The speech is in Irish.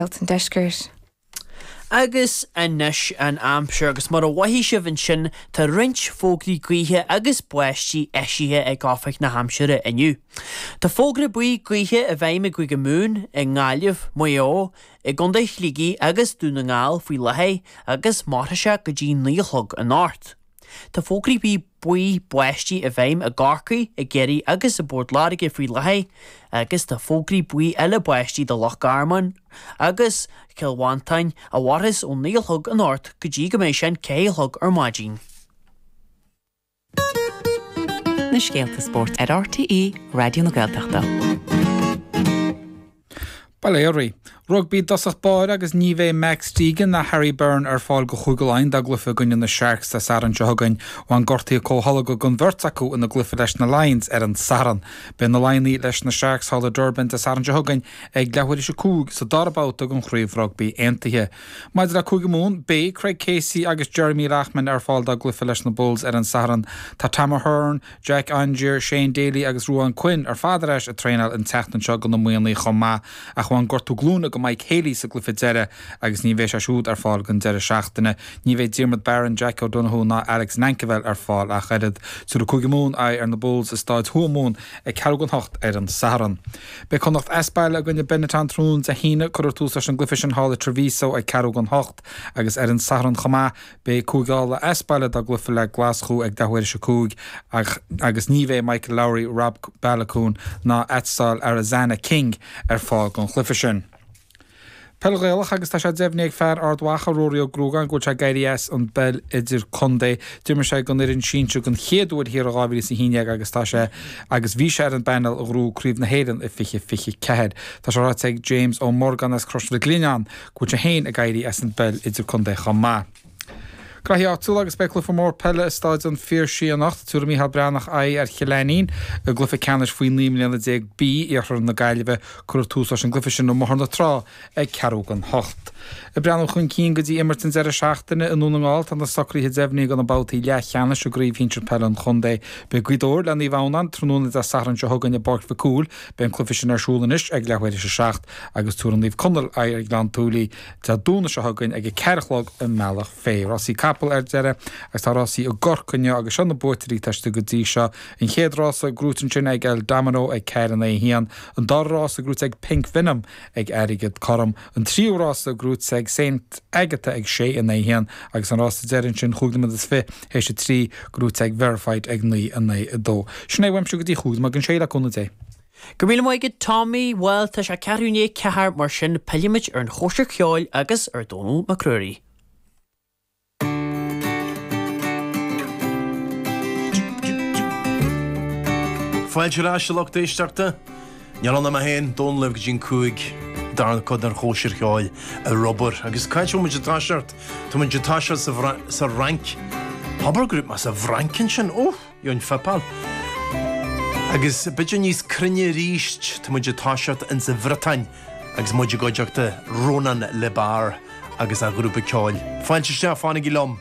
An Deiscirt. Agus anois an aimsir, agus mar a mhothaigh sibh ansin tá roinnt fógraí gaoithe agus báistí eisithe ag Oifig na hAimsire inniu. Tá fógra buí gaoithe i bhfeidhm i gCúige Mumhan, i nGaillimh, Maigh Eo, i gContae Shligigh agus Dún na nGall faoi láthair agus mairfidh sé go dtí 9 a chlog anocht. Tá fógraí buí buí báistí i bhfeidhm i gCorcaigh, i gCiarraí agus i bPort Láirge faoi láthair agus tá fógraí buí eile báistí do Loch Garman agus Cill Mhantáin a mhairfeas ón 9 a chlog anocht go dtí go mbeidh sé an 4 a chlog ar maidin. Na scéalta spóirt ar RTÉ Raidió na Gaeltachta. Bail ó Dhia oraibh. Rugbaí i dtosach báire agus ní bheidh Max Deegan ná Harry Byrne ar fáil go Chúige Laighean dá gcluiche i gcoinne na Sharks Dé Sathairn seo chugainn. Bhain gortuithe comhtholgtha don bheirt acu ina gcluiche leis na Lions ar an Satharn. Beidh na Laighnigh leis na Sharks thall i Durban Dé Sathairn seo chugainn ag leathuair théis a 5 sa dara babhta den Chraobh Rugbaí Aontaithe. Maidir le Cúige Mumhan, beidh Craig Casey agus Jeremy Loughman ar fáil dá gcluiche leis na Bulls ar an Satharn. Tá Tom Ahern, Jack Aungier, Shane Daly agus Ruadhán Quinn ar fad ar ais ag traenáil an tseachtain seo do na Muimhnigh chomh maith ach bhain gortú glúine go Mike Haley sa gcluiche deiridh agus ní bheidh sé siúd ar fáil don deireadh seachtaine. Ní bheidh Diarmuid Barron, Jack O'Donoghue ná Alex Nankivell ar fáil ach oiread. Tabharfaidh Cúige Mumhan aghaidh ar na Bulls i Stáid Thuamhumhan ag ceathrú don hocht ar an Satharn. Beidh Connacht as baile i gcoinne Benetton tráthnóna Dé hAoine. Cuirfear tús leis an gcluiche sin thall i Treviso ag ceathrú don hocht agus ar an Satharn chomh maith Beidh Cúige Uladh as baile dá gcluiche le Glaschú ag leathuair théis a 5 ach agus ní bheidh Michael Lowry, Rob Baloucoune ná Aitzol Arenzana King ar fáil don chluiche sin. Peil Ghaelach agus tá sé deimhnithe ag fear Ard Mhacha, Ruairí Ó Gruagáin, go bhfuil sé ag éirí as an bpeil idirchontae. D'imir sé don fhoireann sinsir den chéad uair thiar i 2011 agus tá sé agus bhí sé ar an bpainéal a ghnóthaigh Craobh na hÉireann i 2024. Tá sé ráite ag James Ó Morgáin as Crois Mhic Lionnáin go bhfuil sé féin ag éirí as an bpeil idirchontae chomh maith. Graithí áitiúla agus beidh cluiche mór peile i Stáid an Phiarsaigh anocht. Tabharfaidh Mícheál Breathnach aghaidh ar Chill Ainnín i gcluiche ceannais faoi 19 mbliana B, Iarthar na Gaillimhe. Cuirfear tús leis an gcluiche sin i mBóthar na Trá ag ceathrú don hocht. Ag breathnú chun cinn go dtí imirt an deireadh seachtaine i nDún na nGall, tá na socruithe deimhnithe do na babhtaí leathcheannais i gCraobh Shinsir Peile an Chontae. Beidh Gaoth Dobhair le Naomh Adhamhnáin tráthnóna Dé Sathairn seo chugainn i bPáirc Mhic Cumhaill. Beidh an cluiche sin ar siúl anois ag leathuair théis a seacht. agus tabharfaidh Naomh Conaill aghaidh ar Ghleann tSúilí Dé Domhnaigh seo chugainn ag a ceathair a chlog i mBealach Féich. Rásaí capall ar deireadh agus tá rásaí i gCorcaigh inniu agus seo na buaiteoirí atá istigh go dtí seo. An chéad rása gnóite ansin ag El Domino ag 4 in aghaidh 1, an dara rása gnóite ag Pink Venom ag airgead cothrom, an tríú rása gnóite ag Saint Agatha ag 6 in aghaidh 1 agus an rása deiridh ansin chúig nóiméad is fiche théis a trí gnóite ag Verified ag 9 in aghaidh 2. Sin é uaimse go dtí chúig nóiméad don sé le cúnamh Dé. Go raibh míle maith agat Tommy, bhuel tá sé ceathrú i ndiaidh a ceathair mar sin pillfimid ar an chóisir cheoil agus ar Dónall Mac Ruairí. Fáilte ar ais a lucht éisteachta. Níl ann ach mé féin, Dónall libh go dtí an 5, darna cuid den chóisir cheoil ar obair. Agus cá háit a bhfuil muid ag toiseacht? Tá muid ag toiseacht sa Fhrainc. Abair go raibh mé sa bhFrainc ansin. Ó! Gheobhainn fuipeáil. Agus b'fhéidir níos cruinne arís, tá muid ag toiseacht insa Bhriotáin agus muid i gcuideachta Ronan Le Bars agus a ghrúpa ceoil. Fáilte isteach, fanaigí liom!